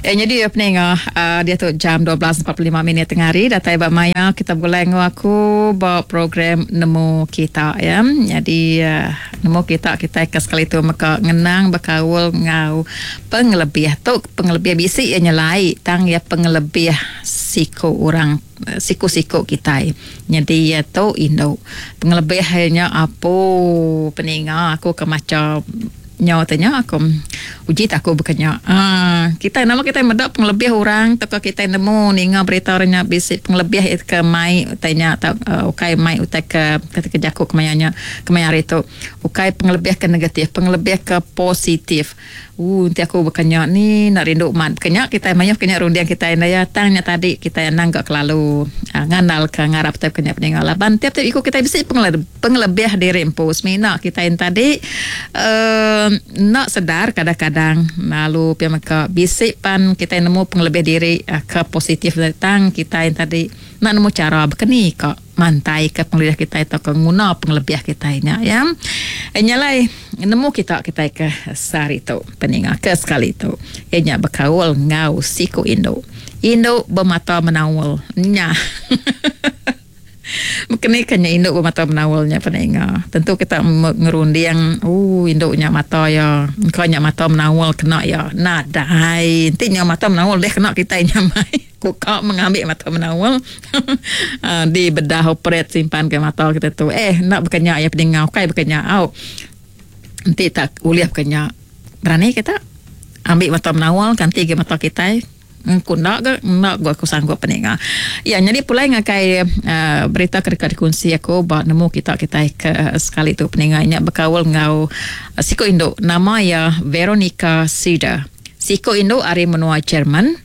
Eh nyadi peninga uh, diatu jam 12.45 minit tengah hari datai ba maya kita begulai enggau aku ba program Nemu Kita ya. Nyadi uh, nemu kita kita ke sekali tu meka ngenang bekaul enggau pengelebih tu pengelebih bisi iya nyelai tang iya pengelebih siku orang siku-siku kitai. Nyadi iya tu indu. Pengelebih iya nya apu peninga aku ke macha Nyau te nya aku uji te aku baka nya. Aaa kitai nama kitai meda pengelebih orang tauka kitai nemu ninga berita orang nya bisi pengelebih iya ke mai utai nya tau ukai mai utai ke kati ke jaku kemaya nya kemaya hari tu ukai pengelebih ke negatif pengelebih ke positif. Ooh enti aku baka nya ni enda rindu mat baka nya kitai mayuh ke nya runding kitai enda iya tang nya tadi kitai anang ga kelalu ngandal ka ngarap utai baka nya peninga laban tiap tiap iku kitai bisi Pengelebih diri empu semina kitai enti tadi enda sedar kadang-kadang lalu pia mega bisi pan kitai nemu pengelebih diri ke positif tang kitai enti tadi enda nemu chara baka ni ka mantaika pengelebih kitai tauka nguna pengelebih kitai nya ya. Nya alai nemu kita kitai ke sehari tu peninga ke sekali tu iya nya bekaul enggau siku indu. Indu bemata menaul nya. Mekeni ke nya indu ba mata menaul nya peda inga. Tentu kita ngerunding ooh indu nya mata iya engka nya mata menaul kena iya. Nadai enti nya mata menaul deh kena kitai nya mai. Ku ka mengambi mata menaul aaa di bedah operate simpan ke mata kita tu. Eh enda baka nya iya pedinga ukai baka nya au. Enti tak ulih baka nya berani kita ambi mata menaul ganti ga mata kitai. Ku enda ga enda ga aku sanggup peninga. Iya nyadi pulai ngagai uhh berita ke deka dikunsi aku ba nemu kita kitai ke sekali tu peninga nya bekaul enggau siku indu nama iya Veronica Sider. Siku indu ari menua Jerman.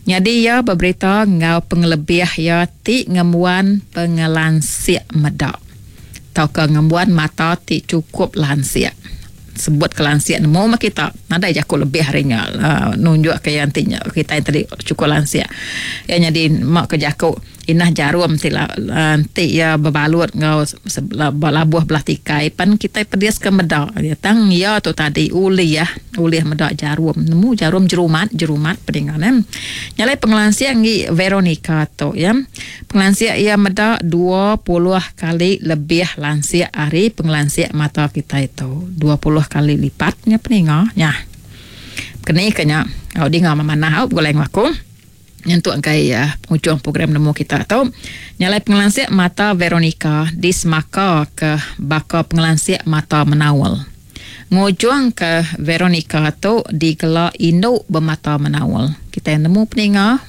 Nyadi iya beberita enggau pengelebih iya ti ngembuan pengelansik meda tauka ngembuan mata ti chukup lansik. Sebut ke lansik nemu meh kita nadai jaku lebih ari nya nunjuk ke iya enti nya kitai tadi chukup lansik. Iya nyadi ema ke jaku inah jarum ti enti iya bebalut enggau belabuh belah tikai pan kitai pedis ke meda. Tang iya tu tadi ulih ulih meda jarum nemu jarum jerumat jerumat pedinga ne. Nya alai pengelansik enggi Veronica tu iya. Pengelansik iya meda 20 kali lebih lansik ari pengelansik mata kitai tu. 20 kali lipat nya peninga nya. Keni ke nya au dinga memanah au begulai enggau aku nyentuk enggai pengujung program nemu kita tu. Nya alai pengelansik mata Veronica disemaka ke baka pengelansik mata menaul. Ngujungka Veronica tu digela indu bemata menaul. Kitai nemu peninga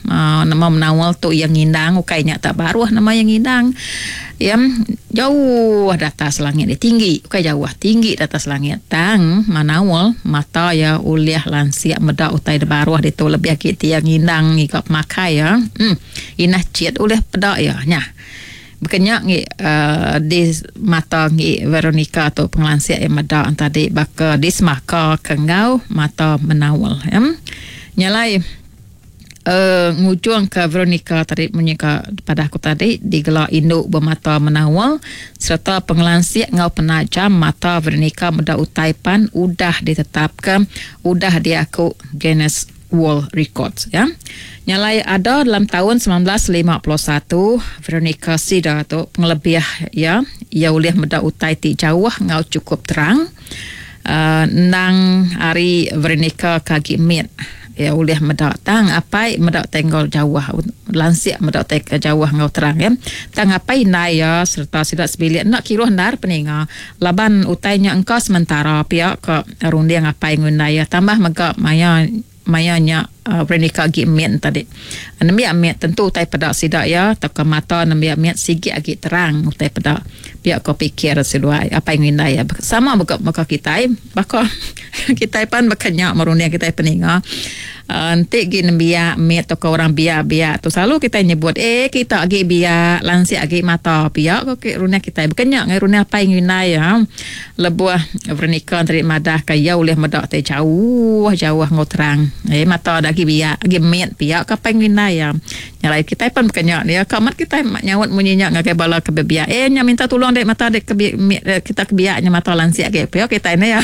nama menaul tu iya ngindang ukai nya tak baruh nama iya ngindang. Iya jauh da atas langit dia tinggi ukai jauh tinggi da atas langit tang menaul mata iya ulih lansik meda utai da baruh ditu lebih agi ti iya ngindang ngiga pemakai iya. Em inah chit ulih peda iya nyah. Baka nya ngi di mata ngi Veronica tu pengelansik iya meda tadi baka disemaka ke enggau mata menaul. Nya alai uhh ngujung ka Veronica tadi munyi ka padah aku tadi digela indu bemata menaul sereta pengelansik enggau penajam mata Veronica meda utai pan udah ditetapka udah diaku Guinness World Records ya. Nya alai ada dalam taun 1951 Veronica Sida tu pengelebih iya iya ulih meda utai ti jauh enggau chukup terang. Uh, endang ari Veronica ke agi mit iya ulih meda tang apai meda utai enggau jauh lansik meda utai ke jauh enggau terang ya. Tang apai indai iya sereta sida sebilik enda kiruh endar peninga Laban utai nya engka sementara pia ka runding apai enggau indai iya tambah mega maya maya nya Veronica agi mit tadi. Nembiak mit tentu utai peda sida iya tauka mata nembiak mit sigi agi terang utai peda pia ko pikir seduai apai enggau indai iya. Sama mega baka kitai baka kitai pan baka nya merunding kitai peninga. Enti agi nembiak mit tauka orang biak-biak tu selalu kitai nyebut eh kita agi biak lansik agi mata pia ko runding kitai. Baka nya ngagai runding apai enggau indai iya lebuh Veronica enti madah ka iya ulih meda ti jauh jauh enggau terang. Eh mata da agi biak agi mit pia ka apai enggau indai iya. Nya alai kitai pan baka nya dia ka amat kitai nyaut munyi nya ngagai bala ke biak eh nya minta tulung dek mata dek ke mit kita ke biak nya mata lansik agi pia kitai nya.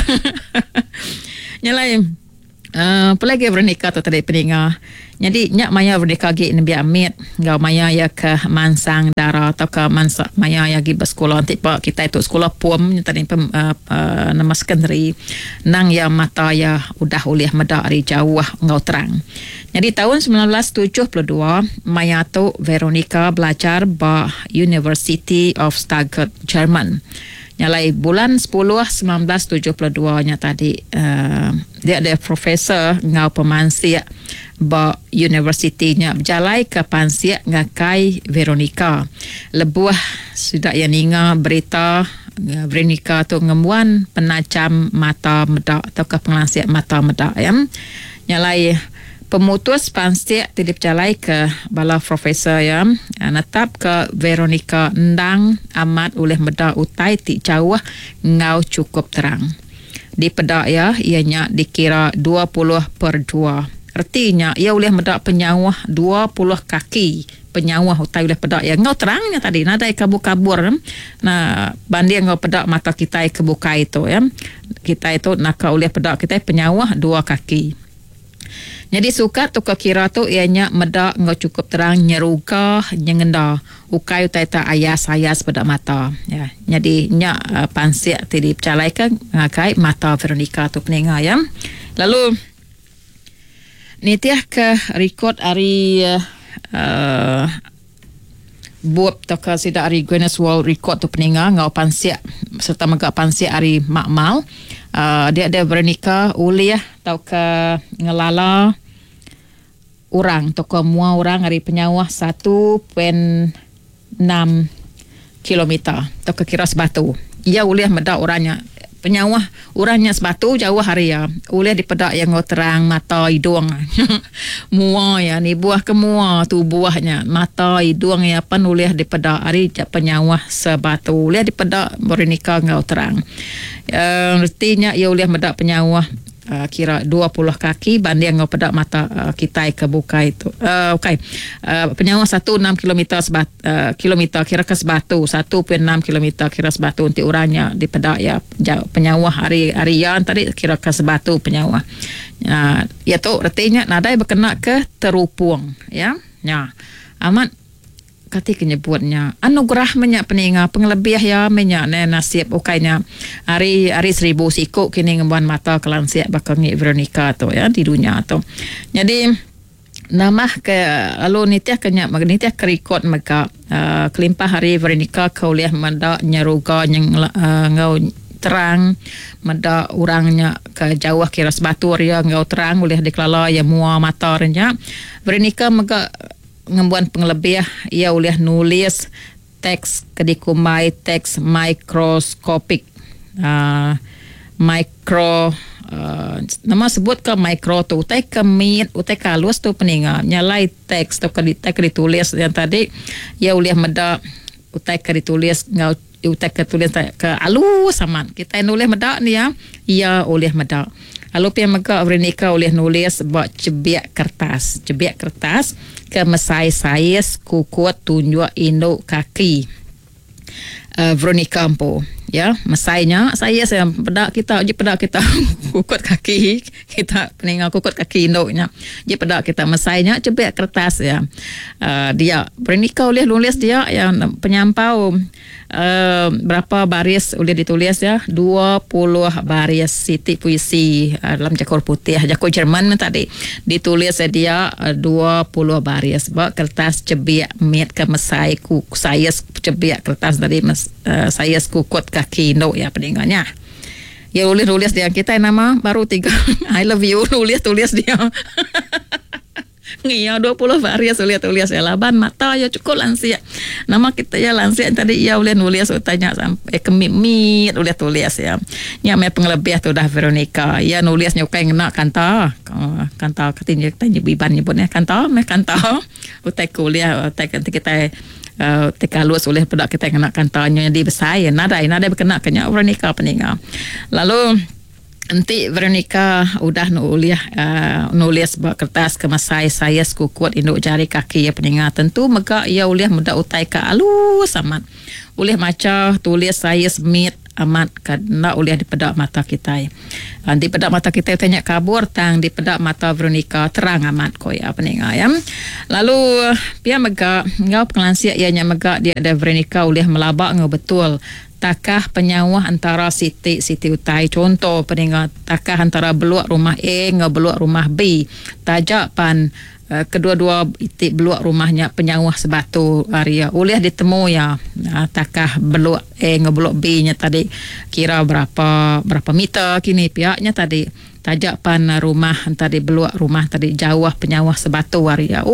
Nya alai. Uh, apa lagi Veronica tu tadi peninga. Jadi nya maya Veronica agi nembiak mit enggau maya iya ke mansang dara atau ke mansa maya iya agi besekula enti pa kitai tu sekula pom nya tadi pem, uh, uh, nama secondary nang iya mata iya udah ulih meda ari jauh enggau terang. Nyadi taun 1972 maya tu Veronica belajar ba University of Stuttgart, Jerman. Nya alai bulan sepuluh 1972 nya tadi uh, dia ada profesor enggau pemansik ba universiti nya bejalaika pansik ngagai Veronica. Lebuh sida iya ninga berita Veronica tu ngembuan penajam mata meda tauka pengelansik mata meda ya. Nya alai pemutus pansik ti dipejalaika bala profesor iya netapka Veronica endang amat ulih meda utai ti jauh enggau chukup terang. Dipeda iya, iya nya dikira 20/2. Reti nya iya ulih meda penyauh 20 kaki penyauh utai ulih peda iya enggau terang nya tadi nadai kabur-kabur nah banding enggau peda mata kitai ke bukai tu ya. Kitai tu naka ulih peda kitai penyauh dua kaki. Nyadi sukat tu ke kira tu iya nya meda enggau chukup terang nyeruga nyengenda ukai utai tak ayas-ayas peda mata. Ya. Nyadi nya pansik ti dipejalaika ngagai mata Veronica tu peninga ya. Lalu nitih ke rekod ari uh, bup tauka sida ari Guinness World Record tu peninga enggau pansik sereta mega pansik ari makmal uh, dia ada Veronica ulih tauka ngelala orang tauka mua orang ari penyauh 1.6 kilometer tauka kira sebatu. Iya ulih meda orang nya penyauh orang nya sebatu jauh ari iya ulih dipeda iya enggau terang mata idung mua iya nibuh ke mua tubuh nya mata idung iya pen ulih dipeda ari penyauh sebatu ulih dipeda Veronica enggau terang. Uh, reti nya iya ulih meda penyauh Uh, kira 20 kaki banding enggau peda mata uh, kitai ke bukai tu. Uh, okay. Uh, penyauh 1.6 kilometer sebat, uh, kilometer kira ke sebatu 1.6 kilometer kira sebatu enti orangnya dipeda ya jauh, penyauh hari hari ya tadi kira ke sebatu penyauh. Uh, ya tu retinya nadai berkena ke terupung ya. Ya. Amat Kati ke nyebut nya anugerah meh nya peninga pengelebih iya meh nya neh nasib ukai nya ari ari seribu siku kini ngembuan mata ke lansik baka ngi Veronica tu ya di dunya tu. Nyadi nambah ke lalu nitih ke nya nitih ke rekod mega uhh kelimpah ari Veronica ke ulih meda nyeruga enggau terang meda orang nya ke jauh kira sebatur iya enggau terang ulih dikelala iya mua mata re nya. Veronica mega ngembuan pengelebih iya ulih nulis teks ke dikumbai teks mikroskopik. Uh, micro uh, nama sebut ke micro tu utai ke mit, utai ke halus tu peninga. Nyalai teks tu ke utai ke ditulis yang tadi iya ulih meda utai ke ditulis enggau utai ke tulis ke halus amat. Kitai nulis meda ni ya, iya ulih meda. Lalu pia mega Veronica ulih nulis ba cebik kertas. Cebik kertas ke mesai saiz kukut tunjuk indu kaki. Uh, Veronica empu. Ya, mesai nya saiz ya peda kita uji peda kita kukut kaki kita peninga kukut kaki indu nya. Uji peda kita mesai nya cebik kertas ya. Uh, dia Veronica ulih nulis dia ya penyampau Uh, berapa baris ulih ditulis ya? 20 baris siti puisi uh, dalam jaku putih, jaku Jerman tadi. Ditulis dia uh, 20 baris ba kertas cebik mit ke mesai ku saiz cebik kertas tadi mes, uh, saiz kukut kaki indu ya peninganya. Ya ulih tulis dia kita nama baru tiga I love you nulis tulis dia. Ngia 20 baris ulih tulis ya laban mata ya cukup lansik. Nama kita ya lansik tadi ya ulih nulis utai nya sampai kemit-mit ulih tulis ya. Nya meh pengelebih tu dah Veronica. Ya nulis nya ukai ngena kanta. Kanta kati nya kita nyebut Iban nyebut nya kanta meh kanta. Utai ke ulih utai ke kita uh, utai ke halus ulih peda kita ngena kanta nya jadi besai ya. Nadai nadai bekena ke nya Veronica peninga. Lalu Enti Veronica udah ulih nulis ba kertas ke mesai saiz kukut indu jari kaki iya peninga tentu mega iya ulih meda utai ke alus amat. Ulih macha tulis saiz mit amat ke enda ulih dipeda mata kitai. Enti peda mata kitai utai nya kabur tang dipeda mata Veronica terang amat ko iya peninga iya. Lalu pia mega enggau pengelansik iya nya mega dia deh Veronica ulih melaba enggau betul takah penyauh entara siti-siti utai. Chunto peninga takah entara beluk rumah A enggau beluk rumah B taja pan kedua-dua iti beluk rumah nya penyauh sebatu ari iya ulih ditemu iya takah beluk A enggau beluk B nya tadi kira berapa berapa meter kini pia nya tadi taja pan rumah tadi beluk rumah tadi jauh penyauh sebatu ari iya.